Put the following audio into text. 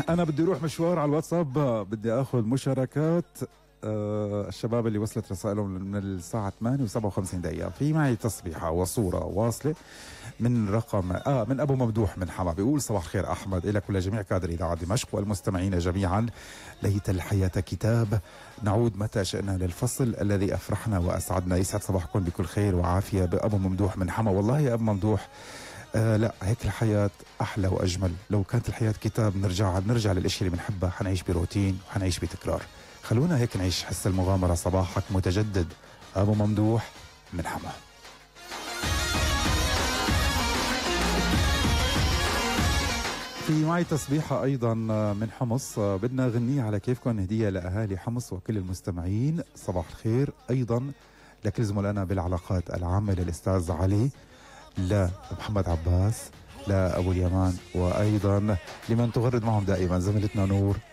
أنا بدي أروح مشوار على الواتساب، بدي أخذ مشاركات الشباب اللي وصلت رسائلهم من الساعة 8 و57 دقيقة. في معي تصبيحة وصورة واصلة من رقم من أبو ممدوح من حما، بيقول: صباح الخير أحمد، إلك ولجميع كادر إذاعة دمشق والمستمعين جميعا. ليت الحياة كتاب، نعود متى شئنا للفصل الذي أفرحنا وأسعدنا. يسعد صباحكم بكل خير وعافية. بأبو ممدوح من حما. والله يا أبو ممدوح، لا، هيك الحياة أحلى وأجمل. لو كانت الحياة كتاب نرجع للأشياء اللي بنحبها، حنعيش بروتين وحنعيش بتكرار. خلونا هيك نعيش حس المغامرة. صباحك متجدد. أبو ممدوح من حما. في معي تصبيحة أيضا من حمص، بدنا غنية على كيفكم، هدية لأهالي حمص وكل المستمعين. صباح الخير أيضا لكل زملائنا بالعلاقات العامة، للأستاذ علي، لمحمد عباس، لأبو اليمان، وأيضا لمن تغرد معهم دائما زميلتنا نور